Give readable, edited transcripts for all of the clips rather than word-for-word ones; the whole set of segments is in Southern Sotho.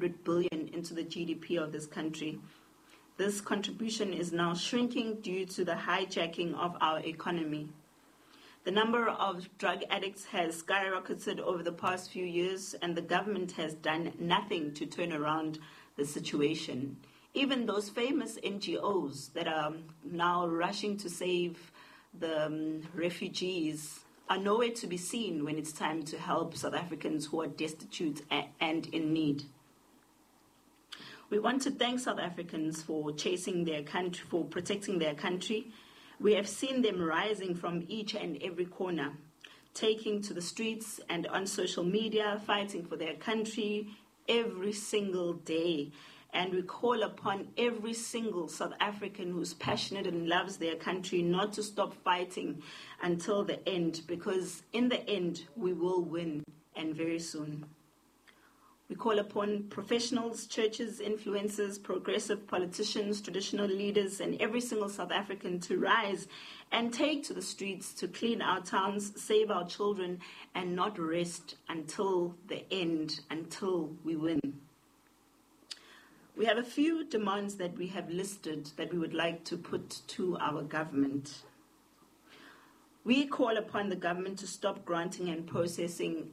100 billion into the GDP of this country. This contribution is now shrinking due to the hijacking of our economy. The number of drug addicts has skyrocketed over the past few years, and the government has done nothing to turn around the situation. Even those famous NGOs that are now rushing to save the refugees are nowhere to be seen when it's time to help South Africans who are destitute and in need. We want to thank South Africans for chasing their country, for protecting their country. We have seen them rising from each and every corner, taking to the streets and on social media, fighting for their country every single day. And we call upon every single South African who's passionate and loves their country not to stop fighting until the end, because in the end, we will win, and very soon. We call upon professionals, churches, influencers, progressive politicians, traditional leaders, and every single South African to rise and take to the streets to clean our towns, save our children, and not rest until the end, until we win. We have a few demands that we have listed that we would like to put to our government. We call upon the government to stop granting and processing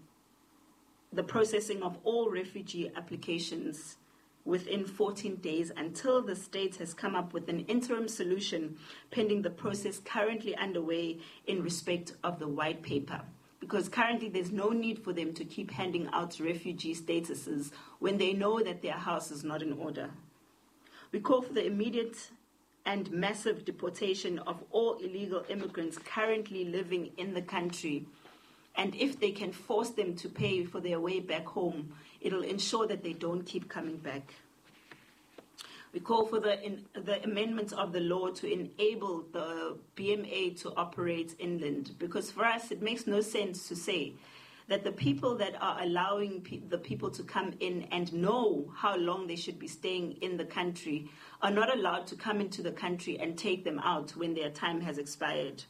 the processing of all refugee applications within 14 days until the state has come up with an interim solution pending the process currently underway in respect of the white paper. Because currently there's no need for them to keep handing out refugee statuses when they know that their house is not in order. We call for the immediate and massive deportation of all illegal immigrants currently living in the country. And if they can force them to pay for their way back home, it'll ensure that they don't keep coming back. We call for the amendment of the law to enable the BMA to operate inland, because for us it makes no sense to say that the people that are allowing the people to come in and know how long they should be staying in the country are not allowed to come into the country and take them out when their time has expired.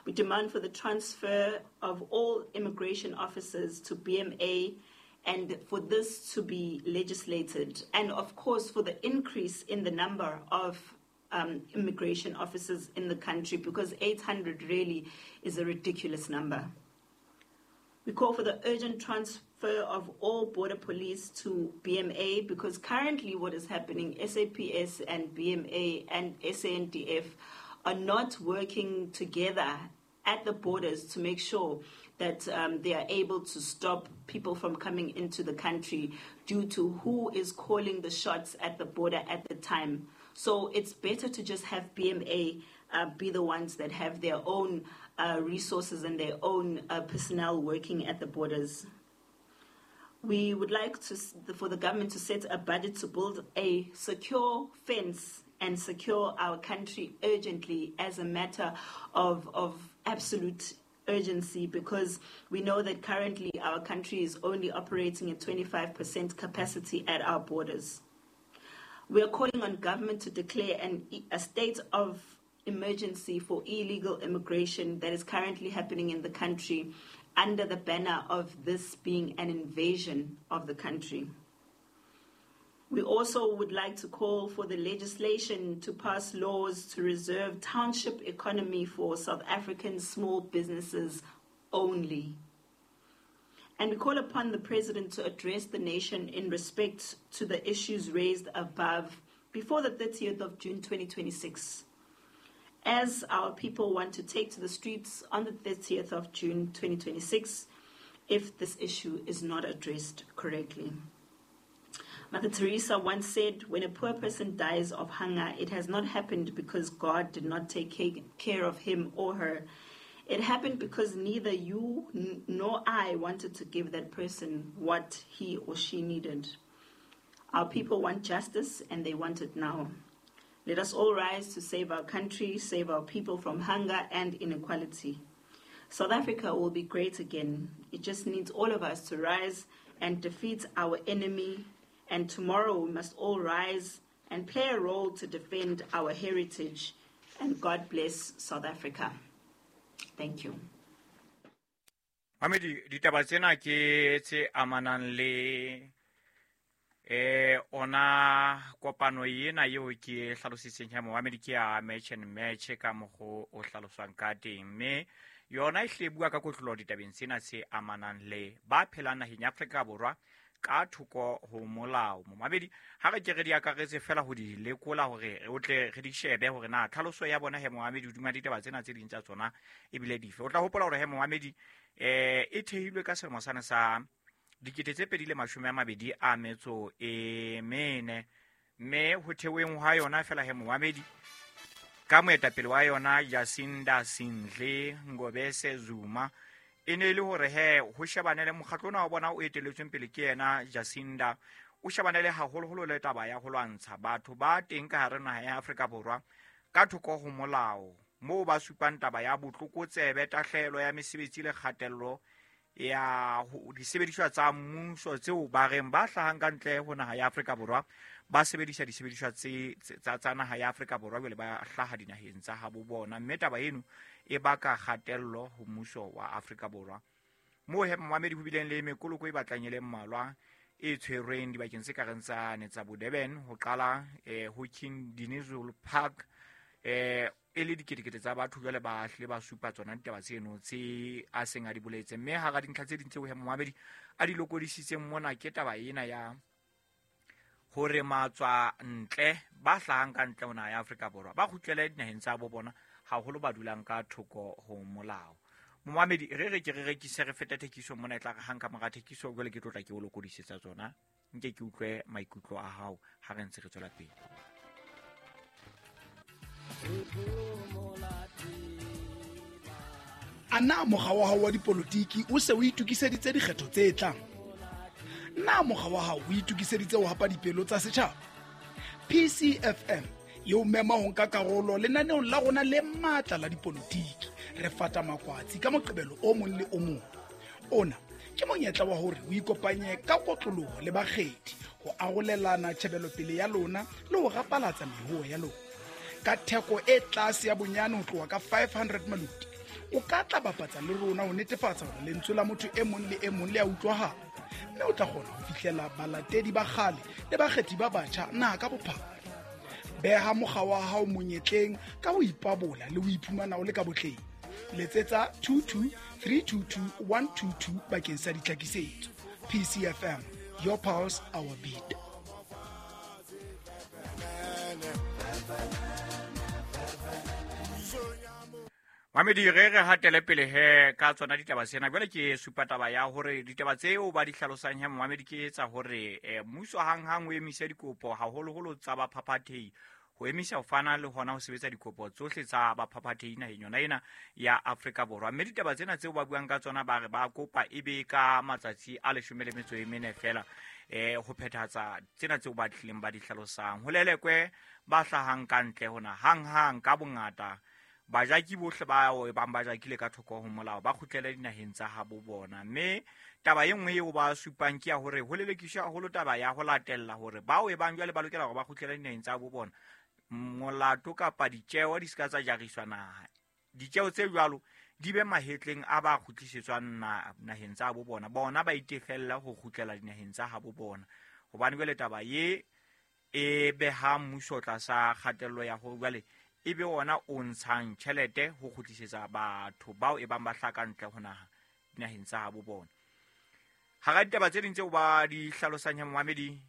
We demand for the transfer of all immigration officers to BMA and for this to be legislated, and of course for the increase in the number of immigration officers in the country, because 800 really is a ridiculous number. We call for the urgent transfer of all border police to BMA, because currently what is happening, SAPS and BMA and SANDF are not working together at the borders to make sure that they are able to stop people from coming into the country due to who is calling the shots at the border at the time. So it's better to just have BMA be the ones that have their own resources and their own personnel working at the borders. We would like for the government to set a budget to build a secure fence and secure our country urgently as a matter of absolute urgency, because we know that currently our country is only operating at 25% capacity at our borders. We are calling on government to declare a state of emergency for illegal immigration that is currently happening in the country under the banner of this being an invasion of the country. We also would like to call for the legislation to pass laws to reserve township economy for South African small businesses only. And we call upon the President to address the nation in respect to the issues raised above before the 30th of June 2026, as our people want to take to the streets on the 30th of June 2026 if this issue is not addressed correctly. Mother Teresa once said, when a poor person dies of hunger, it has not happened because God did not take care of him or her. It happened because neither you nor I wanted to give that person what he or she needed. Our people want justice, and they want it now. Let us all rise to save our country, save our people from hunger and inequality. South Africa will be great again. It just needs all of us to rise and defeat our enemy. And tomorrow we must all rise and play a role to defend our heritage. And God bless South Africa. Thank you. Mamedi, ditaba tsena ke tse amanang le Ona kopano ena eo ke hlalositseng ya momamedi ke ya Match and Match ka mokgo o hlaloswang ka teng, mme yona e hle bua ka kotloloho ditabeng tsena tse amanang le ba phelang naheng ya Afrika Borwa ka thoko ho molao. Momamedi, ha re ke re di akaretse fela ho di lekola hore o tle re di shebe hore na tlhaloso ya bona he momamedi hodima ditaba tsena tse ding tsa tsona ebile dife. O tla hopola hore he momamedi e thehilwe ka selemo sane sa 2024, mme ho theweng hwa yona fela he momamedi ka moetapele wa yona Jacinda Sindle Ngobese Zuma, e ne e le hore he ho shebane le mokgatlo ona wa bona o eteletsweng pele ke yena Jacinda, o shebane le haholoholo le taba ya ho lwantsha batho ba teng ka hare naha ya Afrika Borwa ka thoko ho molao, moo ba supang taba ya botlokotsebe, tahlehelo ya mesebetsi le kgatello ya disebediswa tsa mmuso tseo ba reng ba hlahang ka ntle ho naha ya Afrika Borwa ba sebedisa disebediswa tse tsa naha ya Afrika Borwa jwale ba hlaha dinaheng tsa habo bona, mme taba eno e baka kgatello ho mmuso wa Afrika Borwa. Moo he momamedi ho bileng le mekoloko e batlang e le mmalwa e tshwerweng dibakeng tse kareng tsa ne tsa bo Durban, ho qala ho King Dinizulu Park, e le diketekete tsa batho jwale ba hlile ba supa tsona ditaba tseno tse a seng a di boletse. Mme hara dintlha tse ding tseo he momamedi a di lokodisitseng mona ke taba ena ya hore matswa ntle ba hlahang ka ntle ho naha ya Afrika Borwa ba kgutlele dinaheng tsa bo bona, haholo ba dulang ka thoko ho molao. Momamedi, re re ke re rekise re fete thekiso mona, e tla re hang ka mora thekiso jwale ke tlotla ke o lokodisetsa tsona, nke ke utlwe maikutlo a hao ha re ntse re tswela pele. A na mokga wa hao wa dipolotiki o se o itokiseditse dikgetho tse tlang? Na mokga wa hao o itokiseditse ho hapa dipelo tsa setjhaba? PCFM e o mema ho nka karolo lenaneong la rona le matla la dipolotiki. Re fata makwatsi ka Moqebelo o mong le o mong. Ona ke monyetla wa hore o ikopanye ka kotloloho le bakgethi, ho arolelana tjhebelopele ya lona le ho rapalatsa mehoho ya lona. Ka theko e tlase ya bonyane ho tloha ka 500 maluti, o ka tla bapatsa le rona ho netefatsa hore lentswe la motho e mong le e mong le a utlwahala, mme o tla kgona ho fihlela balatedi ba kgale le bakgethi ba batjha naha ka bophara. Beha mokga wa hao monyetleng ka ho ipabola le ho iphumana o le ka botleng. Letsetsa 22 322 122 bakeng sa ditlhakisetso. PCFM, your pulse, our beat. Mamedi, re re hatele pele he ka tsona ditaba tsena. Jwale ke supa taba ya hore ditaba tseo ba di hlalosang he momamedi ke etsa hore mmuso hanghang o emise dikopo haholoholo tsa baphaphathehi, ho emisa ho fana le hona ho sebetsa dikopo tsohle tsa baphaphathehi naheng yona ena ya Afrika Borwa. Mme ditaba tsena tseo ba buang ka tsona ba re ba kopa e be ka matsatsi a 14 fela ho phethahatsa tsena tseo ba tlileng ba di hlalosang. Ho lelekwe ba hlahang ka ntle hona hanghang ka bongata, bajaki bohle ba bang ba jakile ka thoko ho molao ba kgutlele dinaheng tsa habo bona. Mme taba e nngwe eo ba supang ke ya hore ho lelekiswa haholo taba ya ho latella hore bao e bang jwale ba lokela hore ba kgutlele dinaheng tsa habo bona, molato kapa ditjeo di se ka tsa jariswa naha. Ditjeo tse jwalo di be mahetleng a ba kgutlisetswang naheng tsa habo bona, bona ba itefella ho kgutlela dinaheng tsa habo bona. Hobane jwale taba ye e beha mmuso tlasa kgatello ya hore jwale e be ona o ntshang tjhelete ho kgutlisetsa batho bao e bang ba hlaka ntle ho naha dinaheng tsa habo bona. Hara ditaba tse ding tseo ba di hlalosang ya momamedi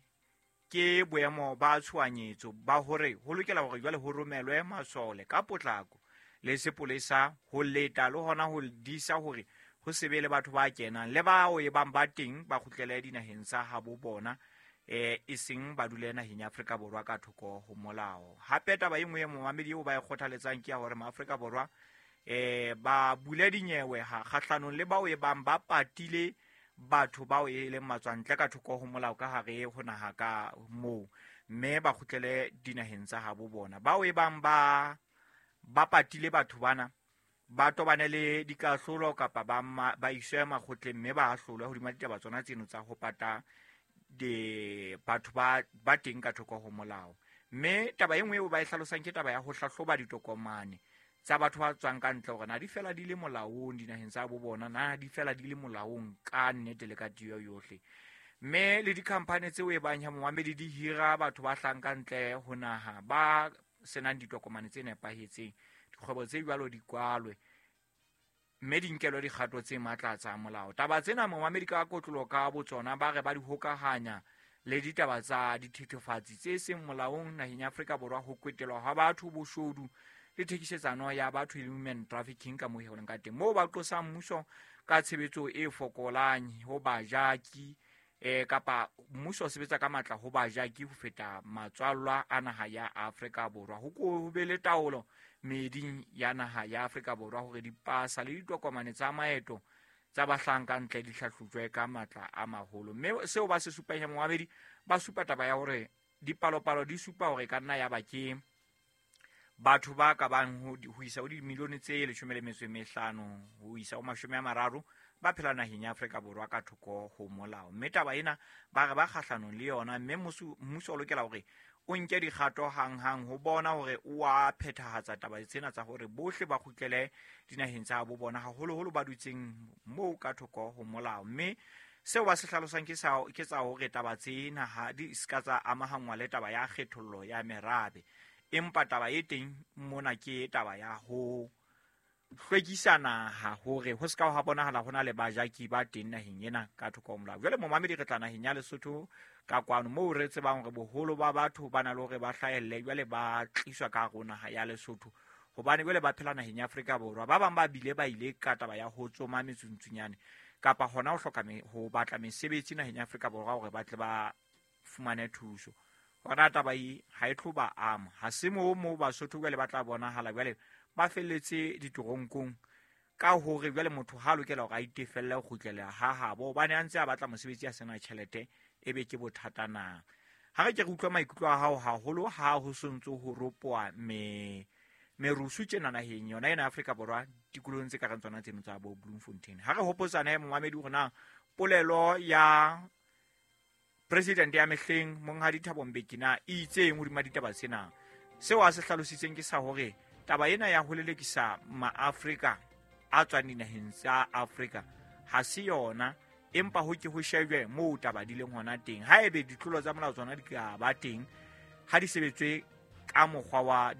ke boemo ba tshohanyetso ba hore ho lokela hore jwale ho romelwe masole ka potlako le sepolesa ho leta le hona ho disa hore ho se be le batho ba kenang le bao e bang ba teng ba kgutlele dinaheng tsa habo bona, e seng ba dule naheng ya Afrika Borwa ka thoko ho molao. Hape taba e nngwe e momamedi eo ba e kgothaletsang ke ya hore maAfrika Borwa ba bule dinyewe kgahlanong le bao e bang ba patile batho bao e leng matswantle ka thoko ho molao ka hare ho naha ka moo, mme ba kgutlele dinaheng tsa habo bona. Bao e bang ba patile batho bana ba tobane le dikahlolo kapa ba iswe makgotleng mme ba ahlolwe hodima ditaba tsona tseno tsa ho pata batho ba teng ka thoko ho molao. Mme taba e nngwe eo ba e hlalosang ke taba ya ho hlahloba ditokomane tsa batho ba tswang ka ntle hore na di fela di le molaong dinaheng tsa bo bona, na di fela di le molaong ka nnete le ka tiyo yohle. Mme le dikhamphane tseo e bang ya momamedi di hira batho ba hlahang ka ntle ho naha ba senang ditokomane tse nepahetseng, dikgwebo tse jwalo di kwalwe mme di nkelwe dikgato tse matla tsa molao. Taba tsena momamedi ka kotlolo ka botsona ba re ba di hokahanya le ditaba tsa dithethefatsi tse seng molaong naheng ya Afrika Borwa, ho kwetelwa ha batho, boshodu le thekisetsano ya batho le human trafficking ka moo e leng ka teng, moo ba qosang mmuso ka tshebetso e fokolang ho bajaki, kapa mmuso o sebetsa ka matla ho bajaki ho feta matswallwa a naha ya Afrika Borwa. Ho ko be le taolo meeding ya naha ya Afrika Borwa hore dipasa le ditokomane tsa maeto tsa bahlanka ntle di hlahlojwe ka matla a maholo. Mme seo ba se supang ya momamedi, ba supa taba ya hore dipalopalo di supa hore ka nna ya ba ke batho ba ka bang ho isa ho dimilione tse 15 ho isa ho 30 ba phela naheng ya Afrika Borwa ka thoko ho molao. Mme taba ena ba re ba kgahlanong le yona, mme mmuso o lokela hore o nke dikgato hanghang ho bona hore o a phethahatsa taba tsena tsa hore bohle ba kgutlele dinaheng tsa bo bona, haholoholo ba dutseng moo ka thoko ho molao. Mme seo ba se hlalosang ke tsa hore taba tsena ha di ska tsa amahanngwa le taba ya kgethollo ya merabe, empa taba e teng mona ke taba ya ho hlwekisa naha hore ho ska ha bonahala hona le bajaki ba teng naheng ena ka thoko ho molao. Jwale momamedi re tla naheng ya Lesotho ka kwano moo re tsebang hore boholo ba batho ba na le hore ba hlahelle, jwale ba tliswa ka hare ho naha ya Lesotho hobane jwale ba phela naheng ya Afrika Borwa. Ba bang ba bile ba ile ka taba ya ho tsoma metsuntsunyane kapa hona ho hloka ho batla mesebetsi naheng ya Afrika Borwa hore ba tle ba fumane thuso. Hona taba e ha e tlo ba ama, ha se moo Basotho jwale ba tla bonahala jwale ba felletse ditoronkong ka hore jwale motho ha lokela hore a itefelle ho kgutlela ha habo hobane a ntse a batla mosebetsi a sena tjhelete, ebe ke bothata na. Ha re ke re utlwa maikutlo a hao haholo ha ho sontso ho ropoa merusu tjena naheng yona ena Afrika Borwa tikolohong tse ka reng tsona tseno tsa bo Bloemfontein. Ha re hopotsane momamedi hore na polelo ya president ya mehleng Monghadi Thabo Mbeki na e itseng hodima ditaba tsena. Seo a se hlalositseng ke sa hore taba ena ya ho lelekisa maAfrika a tswang dinaheng tsa Afrika ha se yona, empa ho ke ho shejwe moo taba di leng hona teng. Haebe ditlolo tsa molao tsona di ka ba teng, ha di sebetswe ka mokgwa wa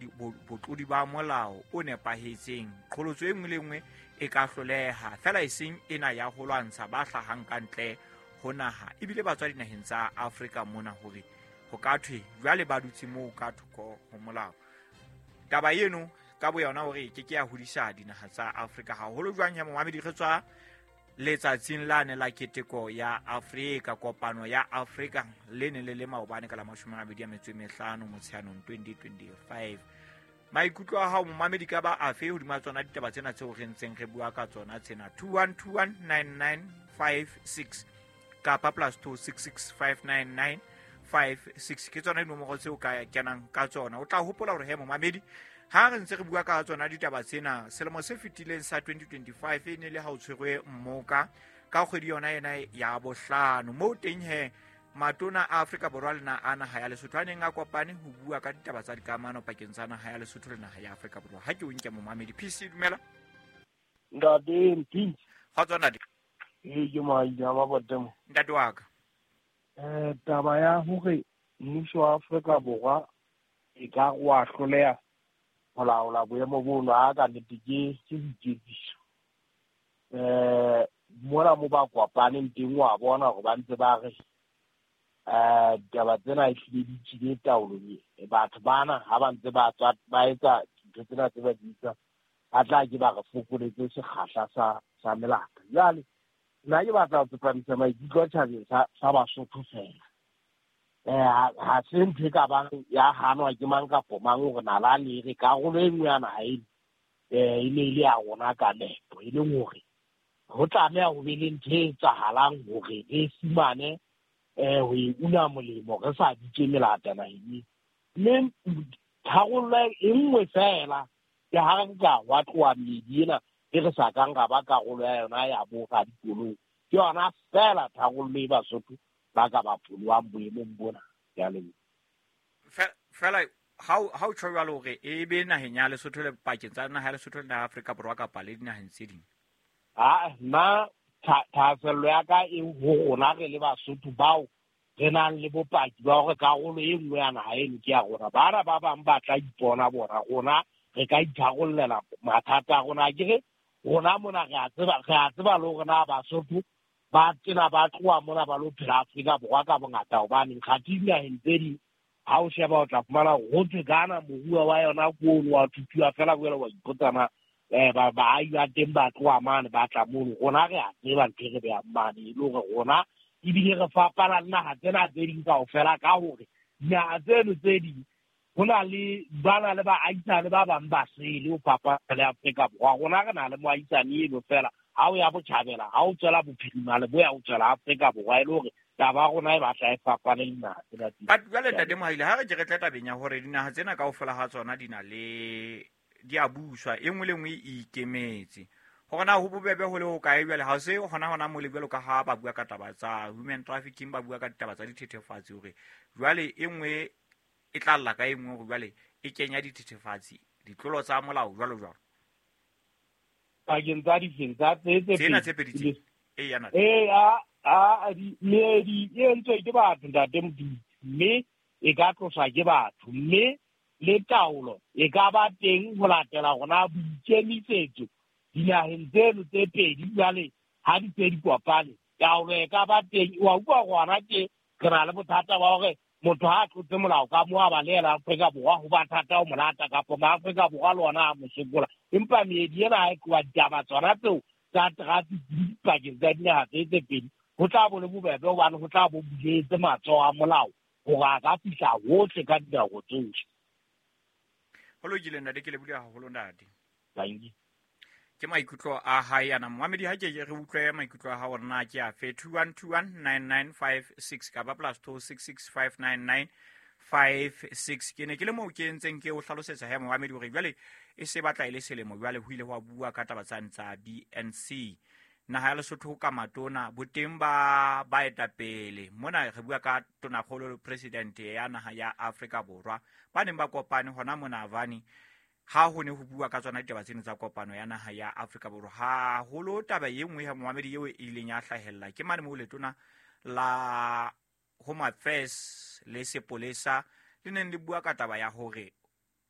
botlodi ba molao o nepahetseng, qholotso e nngwe le nngwe e ka hloleha, fela e seng ena ya ho lwantsha ba hlahang ka ntle ho naha ebile ba tswa dinaheng tsa Afrika mona hore ho ka thwe jwale ba dutse moo ka thoko ho molao. Taba eno ka boyona hore ke ke ya hodisa dinaha tsa Afrika haholo jwang ya momamedi. Re tswa letsatsing lane la keteko ya Afrika, kopano ya Afrika le ne le le maobane ka la 25 Motsheanong 2025. Maikutlo a hao momamedi ka ba afe hodima tsona ditaba tsena tseo re ntseng re bua ka tsona tsena? 21219956 kapa +26659956 ke tsona dinomoro tseo ka kenang ka tsona. O tla hopola hore he momamedi, ha re ntse re bua ka tsona ditaba tsena, selemo se fetileng sa 2025 e ne le ha o tshwerwe mmoka ka kgwedi yona ena ya bohlano, moo teng he matona a Afrika Borwa le a naha ya Lesotho a neng a kopane ho bua ka ditaba tsa dikamano pakeng tsa naha ya Lesotho le naha ya Afrika Borwa. Ha ke o nke momamedi. PC dumela. Ntate Mpintsi. Kgotso ntate. Ee, ke Maija ba Botemo. Ntate wa ka. Taba ya hore mmuso wa Afrika Borwa e ka wa hloleha ho laola boemo bono, ha ka nnete ke boiketsiso. Mona mo ba kopaneng teng wa bona hore ba ntse ba re ditaba tsena ehlile di tswile taolong. Batho bana ha ba ntse ba tswa ba etsa dintho tsena tse ba di etsang, ba tla ke ba re fokoletse sekgahla sa melata. Jwale nna ke batla ho tsepamisa maikutlo tjhabeng sa Basotho fela. Ha se ntho e ka bang ya hanwa ke mang kapo mang hore nalane re karolo e nngwe ya naha ena, e ne e le ya rona ka nepo, e leng hore ho tlameha ho be le ntho e etsahalang hore re fumane ho e una molemo re sa bitse melata naheng. Mme tharollo e nngwe fela ke ha re ka wa tloha meedi ena e re sa kang ra ba karolo ya yona ya bo radikolong. Ke yona fela tharollo e Basotho ba ka ba pholohang boemong bona. Ke a leboha. Fela ha o tjho jwalo hore e be naheng ya Lesotho le pakeng tsa naha ya Lesotho le naha ya Afrika Borwa kapa le dinaheng tse ding? Ah, nna Thahasello ya ka e ho rona re le Basotho bao re nang le bopaki ba hore karolo e nngwe ya naha eno ke ya rona. Bana ba bang ba tla ipona bona, rona re ka itharollela mathata a rona. Ke re rona mona re a tseba le hore na Basotho ba tena ba tloha mona ba lo phela Afrika Borwa ka bongata, hobane kgathi dinaheng tse ding ha o sheba o tla fumana hore ho thwe Ghana moruo wa yona ke ono wa thuthuwa fela, jwale wa ipotsa na baahi ba teng ba tloha mane ba tla mono. Rona re a tseba ntho e re behang mane, e le hore rona ebile re fapana le naha tsena tse ding kaofela ka hore dinaha tseno tse ding ho na le ba na le baahisane ba bang ba sele ho fapana le Afrika Borwa. Rona re na le moahisane eno fela, ha o ya botjhabela, ha o tswela bophirima leboya, o tswela Afrika Borwa, e le hore taba ya rona e batla e fapane le dinaha tsena tse ding. But jwale Ntate Mohaile, ha re ke re tle tabeng ya hore dinaha tsena kaofela ha tsona di na le di a buswa, e nngwe le nngwe e ikemetse, hore na ho bobebe ho le hokae jwale ha se hona hona mole jwalo ka ha ba bua ka taba tsa human trafficking, ba bua ka ditaba tsa dithethefatsi, hore jwale e nngwe e tla lla ka e nngwe hore jwale e kenya dithethefatsi, ditlolo tsa molao jwalo jwalo. Pakeng tsa difeng tsa tse tse Tsena tse pedi tse. E ya ntate. Eh, a di meedi e entswe ke batho Ntate Modimo, mme e ka tloswa ke batho, mme le taolo e ka ba teng ho latela rona boikemisetso dinaheng tseno tse pedi. Jwale ha di tse di kopane, taolo e ka ba teng. Wa utlwa hore hona ke re na le bothata ba hore motho ha a tlotse molao ka mo a balehela Afrika Borwa, ho ba thata ho mo lata, kapa ma-Afrika Borwa le ona a mo sokola. Empa meedi ena ha e tloha, ditaba tsona tseo tsa traffic dipakeng tsa dinaha tse tse pedi, ho tla bo le bobebe hobane ho tla bo buletse matsoho a molao hore a ka fihla hohle ka dinako tsohle. Ho lokile ntate, ke lebohile haholo ntate. Thank you. Ke maikutlo a hae ana momamedi, ha ke re utlwe maikutlo a hao hore na ke afe. 21219956 kapa plus 26659956. Ke ne ke le moo ke ntseng ke o hlalosetsa he momamedi hore jwale e se batla e le selemo jwale ho ile hwa bua ka taba tsane tsa BNC. Naha ya Lesotho ka matona boteng ba baetapele mona re bua ka tonakgolo le president ya naha ya Afrika Borwa ba neng ba kopane hona mona Havani ha ho ne ho bua ka tsona ditaba tseno tsa kopano ya naha ya Afrika Borwa. Haholo taba e nngwe ya momamedi eo e ileng ya hlahella ke mane moo letona la Home Affairs le sepolesa le neng le bua ka taba ya hore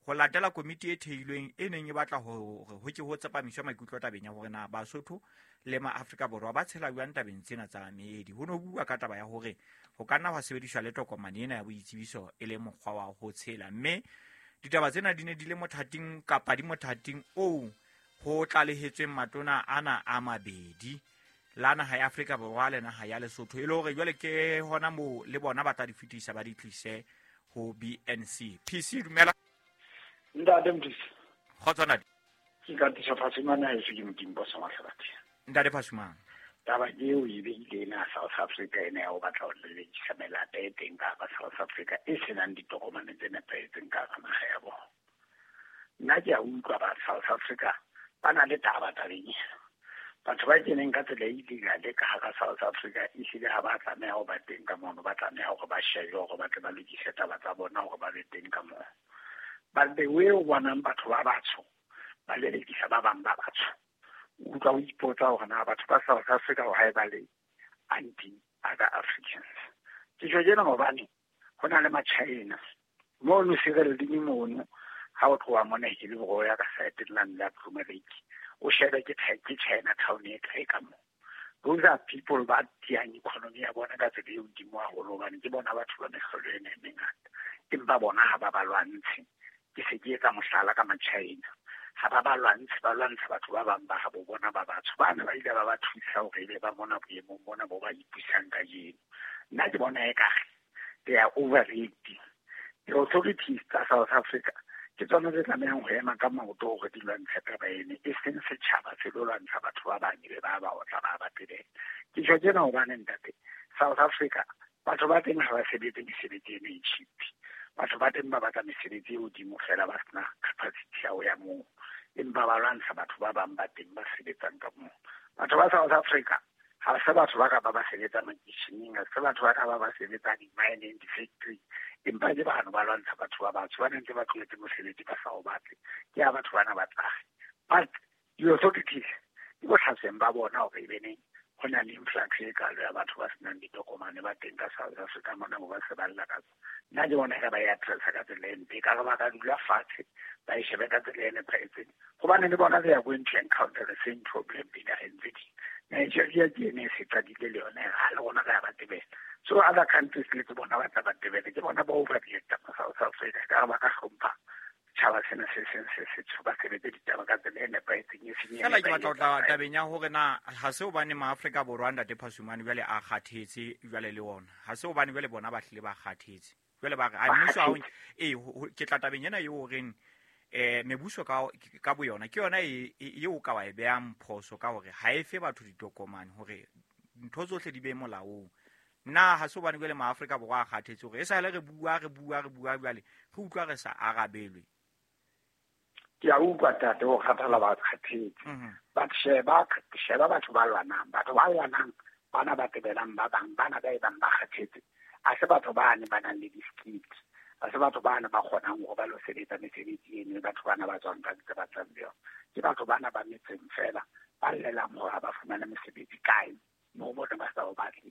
ho latela komiti e theilweng e neng e batla hore ho ke ho tsepamiswe maikutlo tabeng ya hore na Basotho le ma-Afrika Borwa ba tshela jwang tabeng tsena tsa meedi. Ho no bua ka taba ya hore ho ka nna hwa sebediswa le tokomane ena ya boitsebiso e le mokgwa wa ho tshela, mme ditaba tsena di ne di le mothating kapa di mothating oo ho tlalehetsweng matona ana a mabedi la naha ya Afrika Borwa le naha ya Lesotho, e le hore jwale ke hona moo le bona ba tla di fetisa ba di tlise ho BNC. PC dumela. Ntate Mdisi. Kgotso ntate. Ke ka tisa Phasumane ha eso ke Modimo bo sa mahlabathe. Ntate Phasumane. Taba eo e beile ena South Africa ena ya ho batla ho lelekisa melata e teng ka hara South Africa e senang ditokomane tse nepahetseng ka hara naha ya bona. Nna ke a utlwa ba South Africa ba na le taba tabeng ena. Batho ba keneng ka tsela e illegal ka hara South Africa ehlile ha ba tlameha ho ba teng ka mono, ba tlameha hore ba shebe hore ba tle ba lokise taba tsa bona hore ba be teng ka mono. But the way o bonang batho ba batsho ba lelekisa ba bang ba batsho, o utlwa o ipotsa hore na batho ba South Africa why ba le anti other Africans. Ke tjho tjena hobane ho na le ma-China mono Sireleng mono, ha o tloha mona Hillbrow ya ka side lane la Bloemlake, o shebe ke China town e kae ka moo. Those are people ba tiyang economy ya bona ka tsela e hodimo haholo, hobane ke bona batho ba mehlolo ena e mengata, empa bona ha ba ba lwantshe. Ke se ke etsa mohlala ka ma-China, ha ba ba lwantshe, ba lwantsha batho ba bang ba habo bona ba batsho bana ba ile ba ba thusa hore ebe ba mona boemong bona bo ba ipusang kajeno. Nna ke bona ekare they are overreacting. The authorities tsa South Africa ke tsona tse tlamehang ho ema ka maoto hore di lwantshe taba ena, e seng setjhaba se lo lwantsha batho ba bang ebe ba ba otla ba ba tebela. Ke tjho tjena hobane ntate, South Africa batho ba teng ha ba sebetse mesebetsi ena e cheap. Batho ba teng ba batla mesebetsi e hodimo fela, ba sena capacity ya ho ya moo, empa ba lwantsha batho ba bang ba teng ba sebetsang ka moo. Batho ba South Africa ha se batho ba ka ba ba sebetsa makeisheneng, ha se batho ba ka ba ba sebetsa di-mineng, di-factory, empa ke bano ba lwantsha batho ba batsho ba ntse ba tlohetse mosebetsi ba sa o batle. Ke ha batho bana ba tlahe. But the authorities ke bohlasweng ba bona hore e be neng Ho na le influx e kalo ya batho ba senang ditokomane ba teng ka South Africa mona, bo ba se ba lla ka tsona. Nna ke bona ka ba e addressa ka tsela e mpe, ka re ba ka dula fatshe ba e shebe ka tsela e nepahetseng, hobane le bona they are going to encounter the same problem dinaheng tse ding. Nigeria ke ene e se qadile le yona, ha le rona re a ba tebela. So other countries le ke bona ba tla ba tebele, ke bona ba overreacta mo South Africa. Ka re ba ka hlompha setjhaba sena se seng se setsho, ba sebetse ditaba ka tsela e nepahetseng, e seng e Fela ke batla ho tla nepahetseng. tabeng ya hore na ha se hobane maAfrika Borwa, ntate Phasumane, jwale a kgathetse jwale le ona. Ha se hobane jwale bona ba hlile ba kgathetse. Jwale ba re, a Ba mmuso ha o kgathetse. ee, ke tla tabeng ena eo horeng mebuso ka boyona ke yona eo ka wa e behang phoso ka hore ha e fe batho ditokomane hore ntho tsohle di be molaong. Na ha se hobane jwale maAfrika Borwa a kgathetse hore e sale re bua, re bua, re bua jwale re utlwa re sa arabelwe? Ke a utlwa tate, ho kgathala ba kgathetse. But sheba batho ba lwanang, batho ba lwanang, bana ba tebelang ba bang, bana ba e bang ba kgathetse. Ha se batho bane ba nang le di-skills, ha se batho bane ba kgonang hore ba lo sebetsa mesebetsi eno, batho bana ba tswang ka ntle ba tswang le yona. Ke batho bana ba metseng fela, ba llelang hore ha ba fumane mosebetsi kae, moo bona ba sa o batle.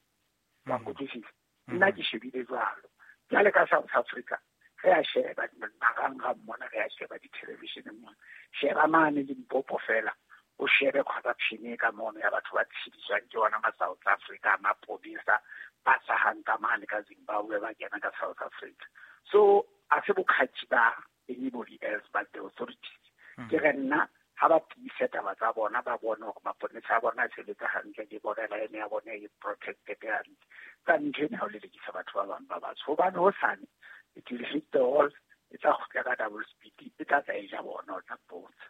Wa nkutlwisisa? Nna ke shebile jwalo. Jwale ka South Africa, re a sheba marangrang mona, re a sheba di-television-eng mona. Sheba mane Limpopo fela, o shebe corruption e ka mono ya batho ba tshediswang ke ona ma South Africa, mapolesa ba hlahang ka mane ka Zimbabwe ba kena ka South Africa. So a se bokgatši ba anybody else but the authorities. Ke re nna ha ba tiise taba tsa bona, ba bone hore maponesa a bona a sebetsa hantle, le border line ya bona e protected hantle. Ka ntho ena ha o lelekisa batho ba bang ba batsho, hobane hosane it will hit the wall, e tla kgutla ka double speed, e tla tla e ja bona, o tla mpotsa.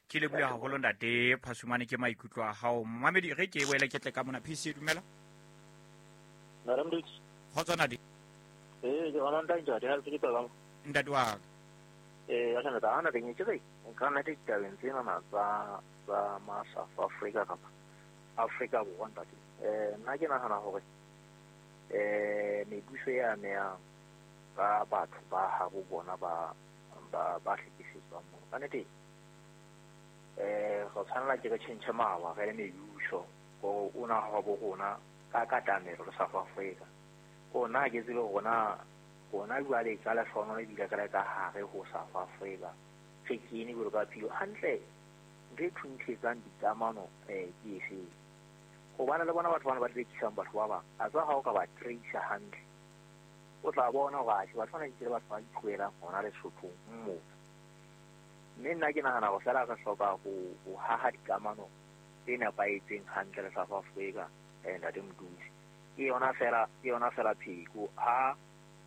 Ke lebohile haholo ntate Phasumane, ke maikutlo a hao. Momamedi, re ke boele ke tle ka mona. PC, dumela. Madam Dix. Kgotso ntate. Ke bona ntate, ha ke tla. Ntate wa ka. Ya tla ntate, ana ke re, nka nna ditabeng tsena tsa ma South Africa kapa Afrika Borwa ntate. Nna ke nahana hore mebuso e amehang ka batho ba habo bona ba hlekefetswang mono. Ka nnete, re tshwanela ke re tjhentjhe mawa re le mebuso hore o na hwa bo rona ka katamelo le South Africa. Rona ha ke tsebe rona jwale ka lehlohonolo ebile re le ka hare ho South Africa, re kene jwalo ka philo hantle. Ntho e thunthetsang dikamano ke efeng? Hobane le bona batho bana ba rekisang batho ba bang, a tswa ha o ka ba tracer hantle, o tla bona hore atjhe batho bana ke batho ba itloelang hona Lesothong moo. Mme nna ke nahana hore feela re hloka ho haha dikamano tse nepahetseng hantle le South Africa, ntate Motuse. Ke yona fela pheko.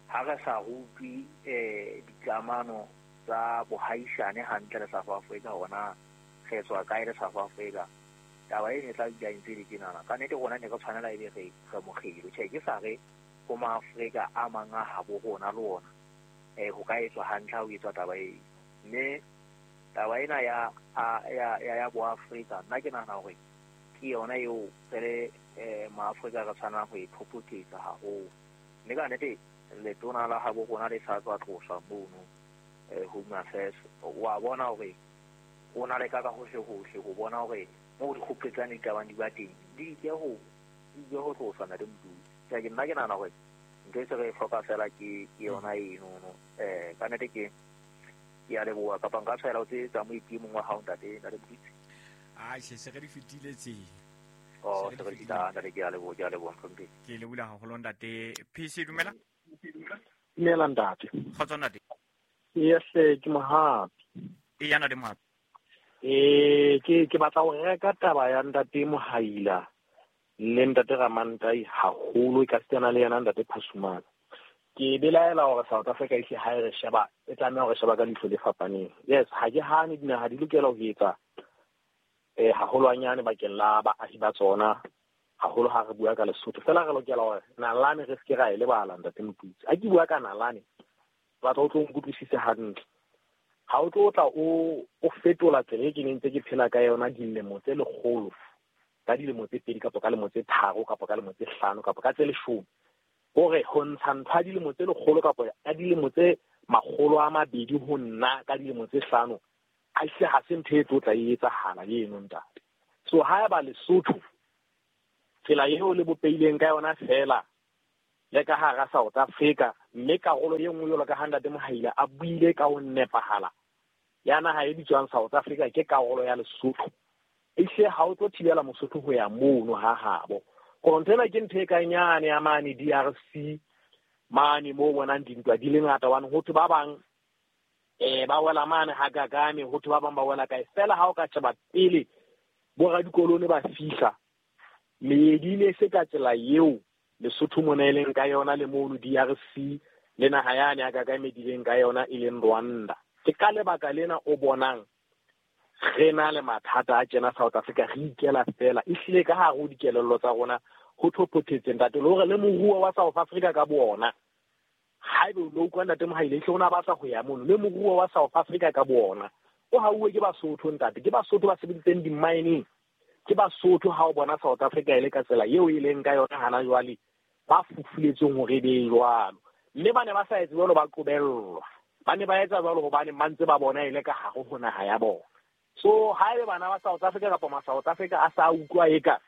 Ha re sa rutwe dikamano tsa bohaisane hantle le South Africa, hona re tswa kae le South Africa, taba eno e tla dula e ntse e le tjenana. Ka nnete rona ne re tshwanela ebe re mokgelo. Tjhe, ke sa re ho maAfrika a mang a habo rona le ona, ho ka etswa hantle ha ho etswa taba eo. Mme taba ena ya boAfrika, nna ke nahana hore ke yona eo re le maAfrika re tshwanelang ho e phophotetsa haholo. Mme ka nnete letona la habo rona le sa tswa tloswa mono, Home Affairs, wa bona hore o na le ka hohle hohle ho bona hore moo dikgopetsane di kabang di ba teng, di ke ho tloswa ntate Motuse. Ke nna ke nahana hore ntho e se re e hloka fela ke yona eno. Ka nnete ke a leboha, kapa nka tshwaela ho tse tsa moeti e mong wa hao ntate Motuse. Atjhe, se re di fetile tse. Oh, se re di fetile, ntate, ke a leboha, mohlomphehi. Ke lebohile haholo ntate. PC, dumela. Dumela ntate. Kgotso ntate. Yes, ke Mohapi. Eya ntate Mohapi. Ke batla ho reka taba ya ntate Mohaila le ntate Ramantai haholo, e ka sitana le yena ntate Phasumane. Ke belaela hore South Africa e hle ha e re sheba, e tlameha hore sheba ka leihlo le fapaneng. Yes, ha ke hane dinaha di lokela ho etsa haholwanyane bakeng la baahi ba tsona, haholo ha re bua ka Lesotho. Fela re lokela hore nalane re se ke ra e lebala ntate Motuse. Ha ke bua ka nalane, batla o tlo nkutlwisise hantle. Ha o tlo tla o fetola tsela e ke neng ntse ke phela ka yona dilemo tse lekgolo, ka dilemo tse 2 kapa ka lemo tse 3 kapa ka lemo tse 5 kapa ka tse 10, hore ho ntsha ntho ya dilemo tse lekgolo kapa ka dilemo tse 200 ho nna ka dilemo tse 5, a hle ha se ntho e tlo tla e etsahala eno ntate. So haeba Lesotho Tsela eo le bopeileng ka yona fela le ka hara South Africa, mme karolo e nngwe jwalo ka ha Ntate Mohaila a buile ka ho nepahala ya naha e bitswang South Africa ke karolo ya Lesotho. Ehlile ha o tlo thibela Mosotho ho ya mono ha habo. Kore ntho ena ke ntho e kang yane ya mane DRC mane moo bonang dintwa di le ngata, hobane ho thwe ba bang ba wela mane ha Kagame, ho thwe ba bang ba wela kae. Fela ha o ka sheba pele boradikolone ba fihla, meedi ne se ka tsela eo Lesotho mona e leng ka yona le mono DRC le naha yane ya Kagame di leng ka yona e leng Rwanda. Ke ka lebaka lena o bonang re na le mathata a tjena South Africa, re ikela fela. Ehlile ka hare ho dikelello tsa rona ho thophothetse ntate, le hore le moruo wa South Africa ka boona, haebe o no utlwa Ntate Mohaile ehlile o na batla ho ya mono, le moruo wa South Africa ka boona o hauwe ke Basotho ntate, ke Basotho ba sebeditseng di-mining, ke Basotho ha o bona South Africa e le ka tsela eo e leng ka yona hana jwale, ba fufuletsweng hore e be jwalo. Mme ba ne ba sa etse jwalo, ba qobellwa. Ba ne ba etsa jwalo hobane ba ntse ba bona e le ka hare ho naha ya bona. So haebe bana ba South Africa kapa ma South Africa a sa utlwa eka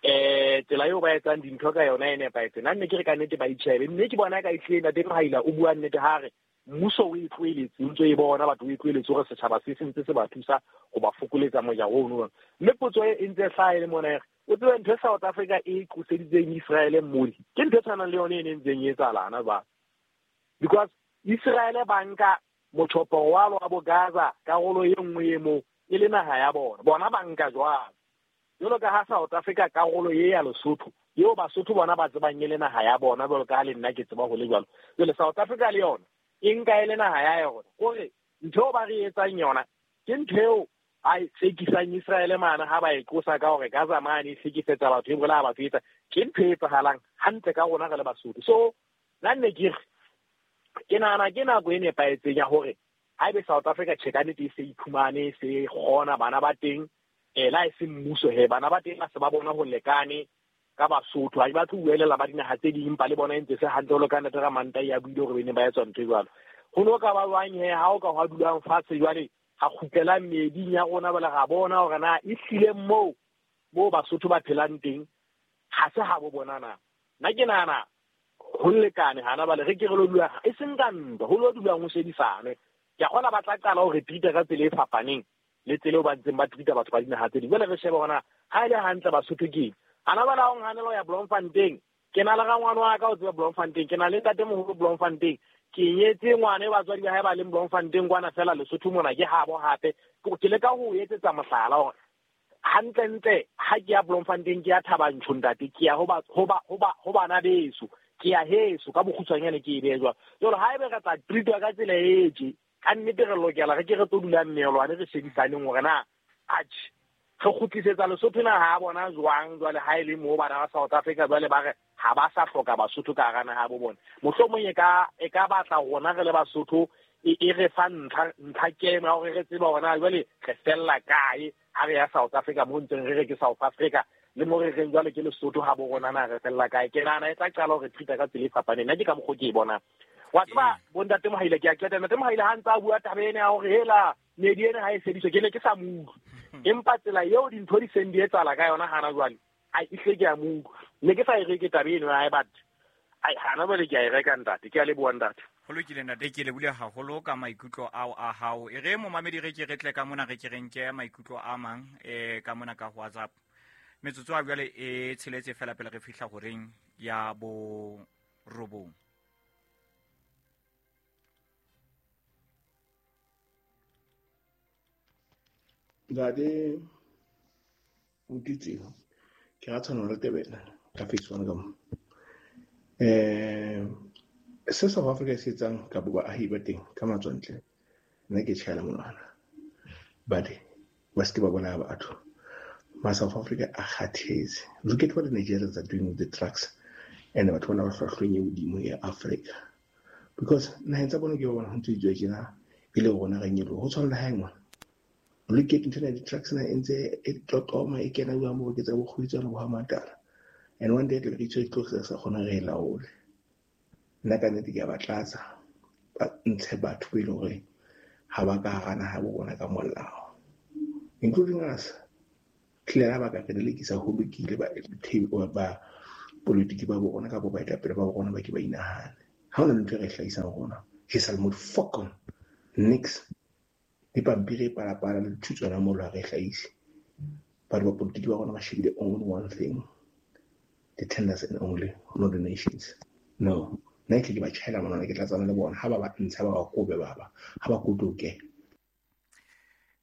tsela eo ba etsang dintho ka yona e nepahetse, nna nne ke re ka nnete ba itjhebe. Mme ke bona ka ehlile Ntate Mohaila o bua nnete ha re mmuso o e tlohelletse, o ntso e bona batho o e tlohelletse hore setjhaba se se ntse se ba thusa ho ba fokoletsa mojaro ono. Mme potso e ntse e hlaha e le mona e re, o tsebe ntho e South Africa e qoseditseng Israele mole, ke ntho e tshwanang le yone e ne ntseng e etsahala hana jwale. Because Israele ba nka motjhoporo wa wa bo Gaza, karolo e nngwe e moo e le naha ya bona, bona ba nka jwalo. Jwalo ka ha South Africa karolo e ya Lesotho, eo Basotho bona ba tsebang e le naha ya bona, jwalo ka ha le nna ke tseba ho le jwalo. Jwale South Africa le yona e nka e le naha ya yona. Kore ntho eo ba re etsang yona ke ntho eo a e tsekisang Israele mane ha ba e qosa ka hore Gaza mane e hlekefetsa batho, e bolaya batho, e etsa, ke ntho e etsahalang hantle ka rona re le Basotho. So nna nne ke re ke nahana ke nako e nepahetseng ya hore haebe South Africa tjhe ka nnete e se iphumane, e se kgona bana ba teng, la e se mmuso he, bana ba teng ba se ba bona ho lekane ka Basotho, ha ba tlo buelela ba dinaha tse ding, empa le bona e ntse se hantle jwalo ka Ntate Ramantai a buile hore ba ne ba etswa ntho e jwalo. Ho no ka ba jwang he ha o ka hwa dulang fatshe jwale, ha kgutlela meeding ya rona jwale, ra bona hore na ehlile moo moo Basotho ba phelang teng ha se ha bo bona na. Nna ke nahana ho lekane hana bale re ke re lo dula e seng ka ntwa, ho lo dulang ho shebisane. Ke a kgona ba tla qala hore treat-a ka tsela e fapaneng le tsela eo ba ntseng ba treat-a batho ba dinaha tse ding. Jwale re shebe hore na ha e le hantle Basotho ke eng. Hana jwale ha o nhanela ho ya Bloemfontein, ke na le rangwane wa ka o tseba Bloemfontein, ke na le ntatemoholo Bloemfontein, ke nyetse ngwana e batswadi ba hae ba leng Bloemfontein kwana fela Lesotho mona ke habo hape. Ke leka ho etsetsa mohlala hore hantlentle ha ke ya Bloemfontein ke ya Thaba Nchu ntate, ke ya ho bana beso, ke ya heso ka bokgutshwanyane ke e behe jwalo. Jwale haebe re tla treat-wa ka tsela e tje, ka nnete re lokela re ke re tlo dula mmelwane re shebisaneng hore na atjhe re kgutlisetsa Lesotho naha ya bona jwang jwale ha e le moo bana ba South Africa jwale ba re ha ba sa hloka Basotho ka hara naha ya bo bona. Mohlomong e ka batla rona re le Basotho e re fa ntlha kemo ya hore re tsebe hore na jwale re fella kae ha re ya South Africa, mo ntseng re re ke South Africa le mo re reng jwale ke Lesotho ha bo rona na re fella kae. Ke nahana e tla qala hore treat-a ka tsela e fapaneng. Nna ke ka mokgwa ke e bonang. Wa tseba bo Ntate Mohaila, ke a qeta. Ntate Mohaila ha ntse a bua taba ena ya hore hela meedi ena ha e sebediswe, ke ne ke sa mo utlwe. Empa tsela eo dintho di seng di etsahala ka yona hana jwale, ai ehlile ke a mo utlwa. Ne ke sa e reke taba eno ya hae, but ai hana jwale ke a e reka ntate. Ke a leboha ntate. Ho lokile ntate, ke lebohile haholo ka maikutlo ao a hao. E re momamedi re ke re tle ka mona re ke re nke maikutlo a mang ka mona ka WhatsApp. Metsotso a jwale e tsheletse fela pele re fihla horeng ya bo robong. Ntate Mokitsi, ke ra tshwana le Tebele ka face one ka mo. Se South Africa se etsang ka bo baahi ba teng ka matswantle, nna ke tjhaela monwana. But ba se ke ba bolaya batho. Ma South Africa a kgathetse. Look at what the Nigerians are doing with the trucks and batho bana ba hlwahlweng e hodimo ya Africa. Because naheng tsa bona ke ba bona ho ntse di tswa tjena, e le rona re nyoloha. Ho tshwana le hae ngwana. Look at ntho ena ya di-trucks na e ntse e tlotloma e kena jwang bo ke tsa bokgwitswana bo ha matala. And one day re itse tlo sa kgona re e laole. Nna ka nnete ke a ba tlatsa, ba ntshe batho be e leng hore ha ba ka hara naha bo bona ka molao, including us. Tlile ha ba ka re lelekisa ho lokile ba ba politiki ba bona kapa baetapele ba bona ba ke ba inahane. Ha hona ntho e re hlahisang rona. Ke sa le mo fuck on. Nix. Dipampiri e palapala le dithutswana mo ha re hlahise. Batho ba politiki ba rona ba shebile only one thing. The tenders and only, not the nations. No. Nna ke ba tjhaela monwana ke tlatsana le bona ha ba ba ntsha ba ba kobe ba ba ha ba kotoke.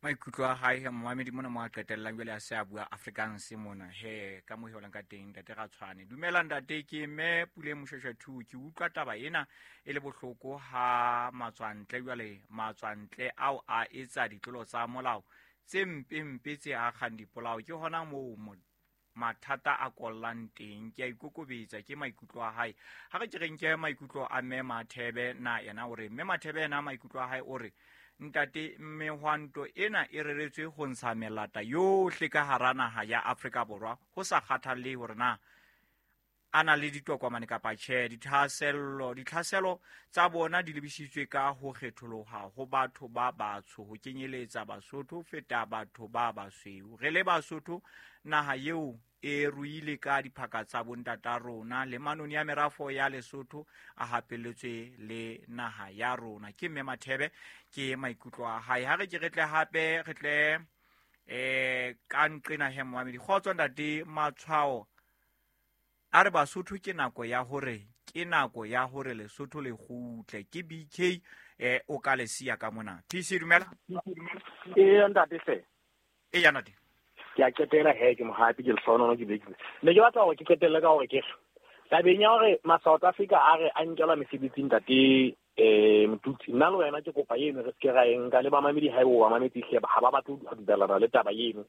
Maikutlo a hae he momamedi mona mo a qetellang jwale a se a bua Afrikaans mona he ka mo heolang ka teng ntate ga tshwane. Dumela ntate, ke mme Pule Moshweshwe 2. Ke utlwa taba ena e le bohloko ha matswantle jwale matswantle ao a etsa ditlolo tsa molao tse mpempe tse akgang dipolao. Ke hona moo mathata a kollang teng. Ke a ikokobetsa, ke maikutlo a hae. Ha re ke re nke maikutlo a mme Mathebe na yena o re mme Mathebe yena maikutlo a hae o re ntate mehwanto ena e reretswe ho ntsha melata yohle ka hara naha ya Afrika Borwa ho sa kgathallehe hore na a na le ditokomane kapa tjhe. Ditlhaselo tsa bona di lebisitswe ka ho kgetholoha ho batho ba batsho ho kenyeletsa Basotho ho feta batho ba basweu. Re le Basotho naha eo e ruile ka diphaka tsa bontata rona le manoni ya merafo ya Lesotho a hapelletswe le naha ya rona. Ke mme Mathebe, ke maikutlo a hae. Ha re ke re tle hape re tle ka nqena he momamedi. Kgotso ntate Matshwao a re Basotho ke nako ya hore ke nako ya hore Lesotho le kgutle. Ke BK o ka le siya ka mona. TC dumela. Ee ntate hle. Ee ntate. Ke a qetela he ke mohapi ke lehlohonono ke bekile. Ne ke batla hore ke qetelle ka hore ke re tabeng ya hore ma South Africa a re a nkelwa mesebetsing ntate Motutsi, nna le wena ke kopa eno re seke ra e nka le bamamedi ha ebo ba mametse hle ha ba batle ho dumellana le taba eno.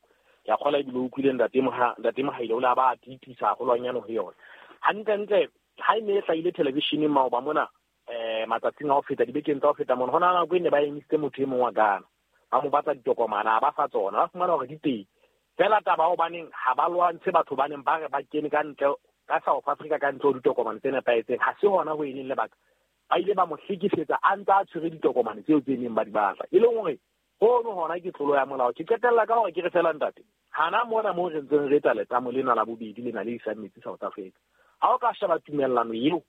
Ke a kgolwa ebile o utlwile ntate Mohaile o le a ba tiisa haholwanyane ho yona. Hantlentle ha e ne e hlahile televisioneng maoba mona matsatsing a ho feta dibekeng tsa ho feta mona, ho na nako e ne ba emisitse motho e mong wa Ghana ba mo batla ditokomane a ba fa tsona ba fumana hore di teng. Fela taba hobaneng ha ba lwantshe batho ba neng ba re ba kene ka ntle ka South Africa ka ntle ho ditokomane tse nepahetseng, ha se hona ho e leng lebaka. Ba ile ba mo hlekefetsa a ntse a tshwere ditokomane tseo tse neng ba di batla. E leng hore hono hona ke tlolo ya molao. Ke qetella ka hore ke re fela ntate, hana mona moo re ntseng re etsa letamo lena la bobedi lena le isang metsi South Africa. Ha o ka sheba tumellano eo,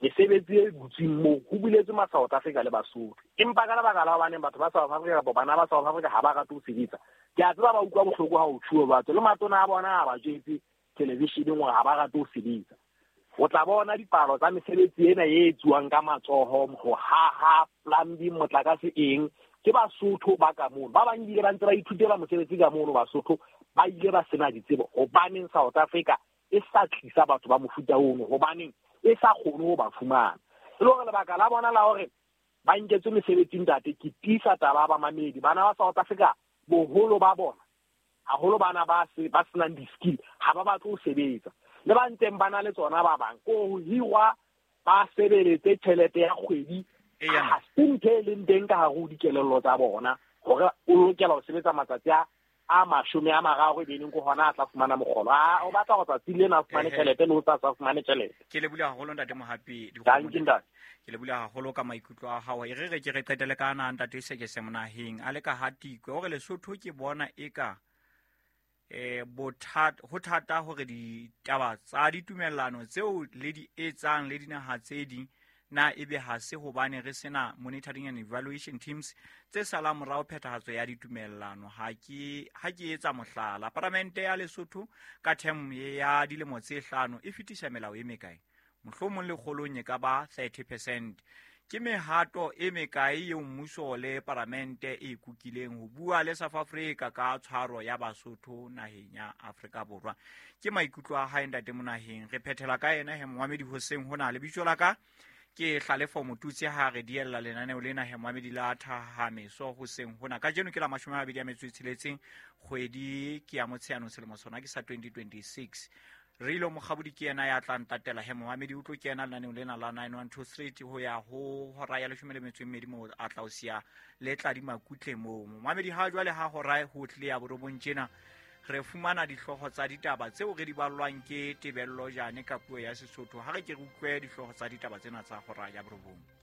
mesebetsi e butsweng moo ho buletswe ma South Africa le Basotho. Empa ka lebaka la hobaneng batho ba South Africa kapa bana ba South Africa ha ba rate ho sebetsa, ke a tseba ba utlwa bohloko ha ho tjhuwe batho le matona a bona ha ba jwetse televisioneng hore ha ba rate ho sebetsa. O tla bona dipalo tsa mesebetsi ena e etsuwang ka matsoho, ho haha, plumbing, motlakase eng, ke Basotho ba ka mono. Ba bang ebile ba ntse ba ithutela mosebetsi ka mono Basotho, ba ile ba sena ditsebo. Hobaneng South Africa e sa tlisa batho ba mofuta ono? Hobaneng e sa kgone ho ba fumana? E le hore lebaka la bona la hore ba nketswe mesebetsi ntate, ke tiisa taba ba mamedi. Bana ba South Africa boholo ba bona, haholo bana ba senang di-skill, ha ba batle ho sebetsa. Le ba ntseng ba na le tsona ba bang, ko ho hirwa ba sebeletse tjhelete ya kgwedi, ha se ntho e leng teng ka hare ho dikelello tsa bona hore o lokela ho sebetsa matsatsi a 30 e be leng ko hona a tla fumana mokgolo. A o batla ho tsatsi lena a fumane tjhelete le ho sa fumane tjhelete. Ke le bula haholo ntate Mohapi. Thank you ntate. Ke le bula haholo ka maikutlo a hao. E re re ke re qetele ka ana ntate Sekese Monaheng a le ka Hatikwe hore Lesotho ke bona eka ho thata hore ditaba tsa ditumellano tseo le di etsang le dinaha tse ding na ebe ha se hobane re sena monitoring and evaluation teams tse salang morao phethahatso ya ditumellano. Ha ke etsa mohlala, Paramente ya Lesotho ka term ya dilemo tse 5 e fetisa melao e mekae? Mohlomong lekgolong e ka ba 30%. Ke mehato e mekae eo mmuso le paramente e kukileng ho bua le South Africa ka tshwaro ya Basotho naheng ya Afrika Borwa? Ke maikutlo a hae ntate Monaheng. Re phethela ka yena he momamedi hoseng hona. Lebitso la ka ke Hlalefo Motutsi ha re diella lenaneo lena he momamedi la Thahameso hoseng hona. Kajeno ke la 26 kgwedi ke ya Motsheanong selemo sona ke sa 2026. Rilo Mokgabodi ke yena ya tla ntatela he momamedi o tlo kena lenaneong lena la 912 Street ho ya ho hora ya 12 moo a tla o siya le tla di makutle moo. Momamedi ha jwale ha hora ho tle ya 9 tjena re fumana dihlooho tsa ditaba tseo re di ballwang ke Tebello Jane ka puo ya Sesotho. Ha re ke re utlwe dihlooho tsa ditaba tsena tsa hora ya 9.